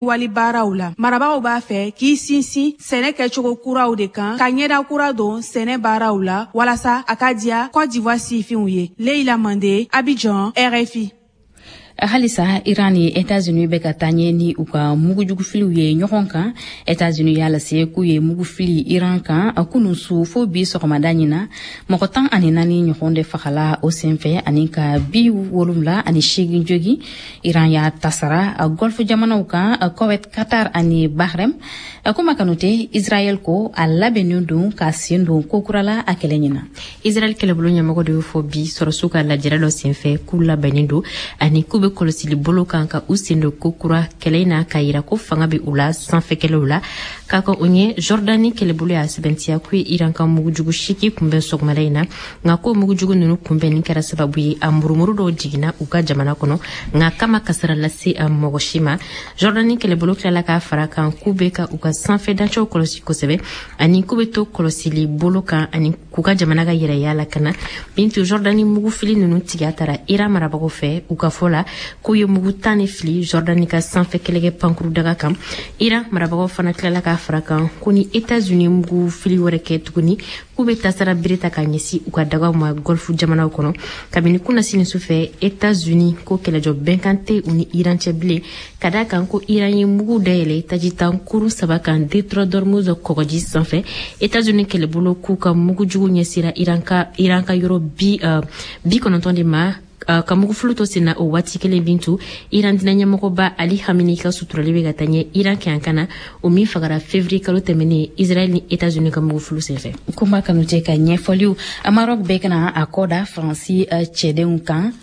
Wali baaraw la, marabagaw b'a fɛ k'i sinsin sɛnɛ kɛcogo kuraw de kan, ka ɲɛda kura don sɛnɛ baaraw la, walasa a ka diya Côte d'Ivoire sifinw ye. Leila Mande, Abidjan, RFI. Halisa, Iran ni Etats-Unis bɛ ka taa ɲɛ ni u ka mugujugufiliw ye ɲɔgɔn kan. Etats-Unis y'a lase k'u ye mugu fili Iran kan kunun su fo bi sɔgɔmada ɲin na. Mɔgɔ 14 ɲɔgɔn de fagala o senfɛ ani ka 78 jogi. Iran y'a tasara Golfe jamanaw kan, Koweït, Qatar ani Bahrain. Kuma Kanute, Israël ko a labɛnnen don ka sen don ko kura la a kɛlɛ ɲin na. Israɛl kɛlɛbolo ɲɛmɔgɔ de y'o fɔ bi sɔrɔsiw ka lajɛrɛ dɔ senfɛ, k'u labɛnnen don ani k'u bɛ kɔlɔsili bolo kan ka u sen don ko kura kɛlɛ in na, k'a yira ko fanga bɛ u la sanfɛ kɛlɛw la. K'a ka o ɲɛ, Jordani kɛlɛbolo y'a sɛbɛntiya k'u ye Iran ka mugujugu siki kunbɛn sɔgɔmada in na, nka ko mugujugu ninnu kunbɛnni kɛra sababu ye a murumuru dɔw jiginna u ka jamana kɔnɔ, nka kama kasara lase a mɔgɔ si ma. Jordani kɛlɛbolo tilala k'a fara kan k'u bɛ ka u ka sanfɛ dancɛw kɔlɔsi kosɛbɛ ani k'u bɛ to kɔlɔsili bolo kan ani k'u ka jamana ka yɛrɛya lakana. Bintu, Jordani mugufili ninnu tigiya tara Iran marabagaw fɛ. U ka fɔ la, k'u ye mugu 10 de fili Jordani ka sanfɛ kɛlɛkɛ pankuru daga kan. Iran marabagaw fana tilala k'a fara kan ko ni Etats-Unis mugu fili wɛrɛ kɛ tuguni, k'u bɛ tasara bere ta ka ɲɛsin u ka dagaw ma Golfe jamanaw kɔnɔ. Kabini kunnasini sufɛ, Etats-Unis ko kɛlɛjɔ bɛnkan tɛ u ni Iran cɛ bilen, ka da kan ko Iran ye mugu dayɛlɛ tajitan kurun saba kan détroit d'Ormuz kɔgɔji sanfɛ. Etats-Unis kɛlɛbolo k'u ka mugujugu ɲɛsira Iran ka yɔrɔ 90 de ma, ka mugufulu to sen na o waati kelen. Bintu, Iran dina ɲɛmɔgɔba Ali Hamini ka suturali bɛ ka taa ɲɛ Iran kɛyankan na, o min fagara février kalo tɛmɛnen Israɛl ni Etats-Unis ka mugufulu senfɛ. Kuma Kanute ka ɲɛfɔliw. Maroc bɛ kana a kɔ da Faransi cɛdenw kan.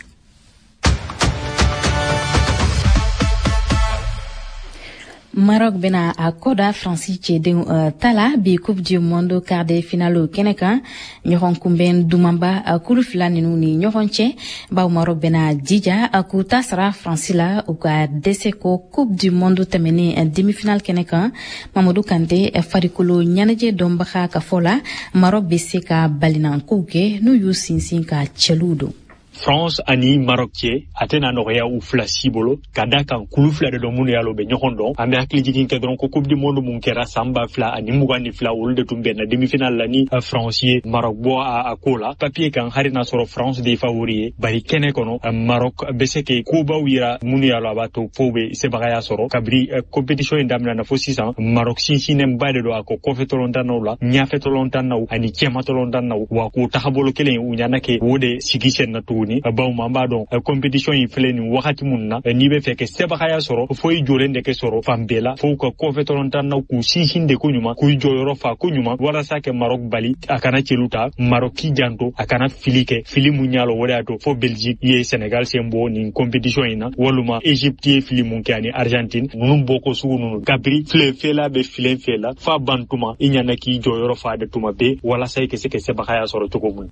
Maroc bena a kɔda Faransi cɛdenw ta la bi Coupe du monde quart de finale kɛnɛ kan, ɲɔgɔn kunbɛn dumanba kulu fila ninu ni ɲɔgɔn cɛ, baw Maroc bena jija k'u ta sara Faransi la u ka dɛsɛ ko Coupe du monde tɛmɛnen demi-finale kɛnɛ kan. Mamadu Kante, farikolo ɲɛnajɛ dɔnbaga ka fɔ la, Maroc be se ka balinankow kɛ n'u y'u sinsin ka cɛluw don. France ani Maroc cɛ, a tɛna nɔgɔya u fila si bolo, ka da kan kulu fila de don minnu y'a lɔ u bɛ ɲɔgɔn dɔn. An bɛ hakili jigin kɛ dɔrɔn ko Coupe du monde mun kɛra san 2022, olu de tun bɛnna demi-finale la ni France ye Maroc bɔ a ko la. Papier kan, hali n'a sɔrɔ France de ye favori ye, bari kɛnɛ kɔnɔ Maroc bɛ se ke kobaw yira minnu y'a lɔ a b'a to fo bɛ sebagaya sɔrɔ. Kabiri compétition in daminɛna fo sisan, Maroc sinsinnenba de don a ko kɔfɛ tɔlɔntannaw la, ɲɛfɛ tɔlɔntannaw ani cɛma tɔlɔntannaw, wa k'o tagabolo kelen u ɲana kɛ o de sigi sen na tuguni, bawo an b'a dɔn compétition in filɛ nin wagati mun na, n'i bɛ fɛ kɛ sebagaya sɔrɔ, fo i jɔlen de kɛ sɔrɔ fan bɛɛ la, fo ka kɔfɛ tɔlɔntannaw k'u sinsin de ko ɲuman, k'u jɔyɔrɔ fa ko ɲuman, walasa kɛ Maroc bali a kana celu ta. Maroc k'i janto a kana fili kɛ, fili mun y'a lɔ o de y'a to fo Belgique ye Sénégal sen bɔ nin compétition in na, walima Égypte ye fili mun kɛ ani Argentine ninnu bɔko sugu ninnu. Kabiri filen fɛla bɛ filen fɛ la fa ban tuma, i ɲana k'i jɔyɔrɔ fa de tuma bɛɛ, walasa i ka se ka sebagaya sɔrɔ cogo mun.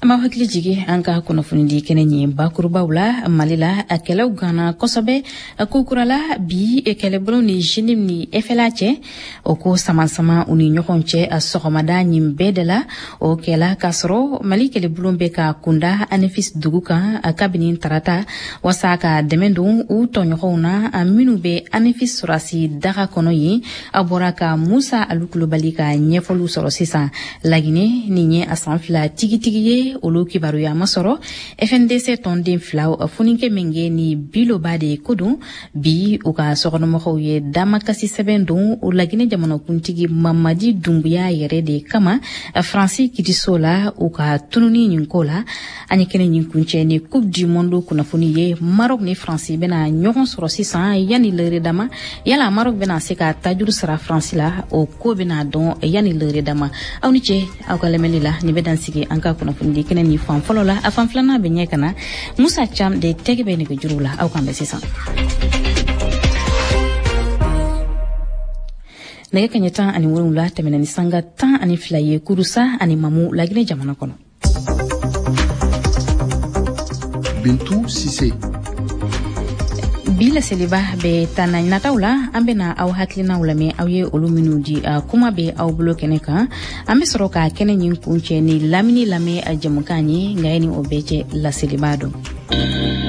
An b'aw hakili jigi an ka kunnafonidi kɛnɛ ɲɛ bakurubaw la. Mali la, a kɛlɛw ganna kosɛbɛ ko kurala bi kɛlɛbolo ni JNIM ni FLA cɛ. O ko sama-sama u ni ɲɔgɔn cɛ a sɔgɔmada ɲin bɛɛ de la, o kɛla k'a sɔrɔ Mali kɛlɛbolo bɛ ka kunda Anefis dugu kan kabini tarata, wasa ka dɛmɛ don u tɔɲɔgɔnw na minnu bɛ Anefis sɔrɔsi daga kɔnɔ yen. A bɔra ka Musa Alu Kulubali ka ɲɛfɔliw sɔrɔ sisan. Lagine, nin ye a san 2 tigitigi ye, olu kibaruya ma sɔrɔ. FNDC tɔnden filaw, Foniké Menguè ni Biloba de ko don, bi u ka sokɔnɔmɔgɔw ye damakasi sɛbɛn don o Laginɛ jamanakuntigi Mamadi Dunbuya yɛrɛ de kama Faransi kitiso la u ka tununi nin ko la. An ye kɛnɛ nin kuncɛ ni Coupe du monde kunnafoni ye. Maroc ni Faransi bɛna ɲɔgɔn sɔrɔ sisan yanni lɛrɛ dama. Yala Maroc bɛna se ka tajuru sara Faransi la? O ko bɛna dɔn yanni lɛrɛ dama. Aw ni ce aw ka lamɛnni la. Nin bɛ dan sigi an ka kunnafoni kɛnɛ ni fan fɔlɔ la. A fan filanan bɛ ɲɛ ka na. Musa Cam de tɛgɛ bɛ nɛgɛjuru la. Aw kan bɛ sisan. Nɛgɛ kaɲɛ 17 tɛmɛna ni sanga 12 ye Kurusa ani Mamu, Laginɛ jamana kɔnɔ. Bintu Sise. Bi laseliba bɛ taa na nataw la, an bɛna aw hakilinaw lamɛn, aw ye olu minnu di kuma bɛ aw bolo kɛnɛ kan. An bɛ sɔrɔ ka kɛnɛ ɲin kuncɛ ni lamini lamɛn jamukan ye. Nka ye ni o bɛɛ cɛ, laseliba don.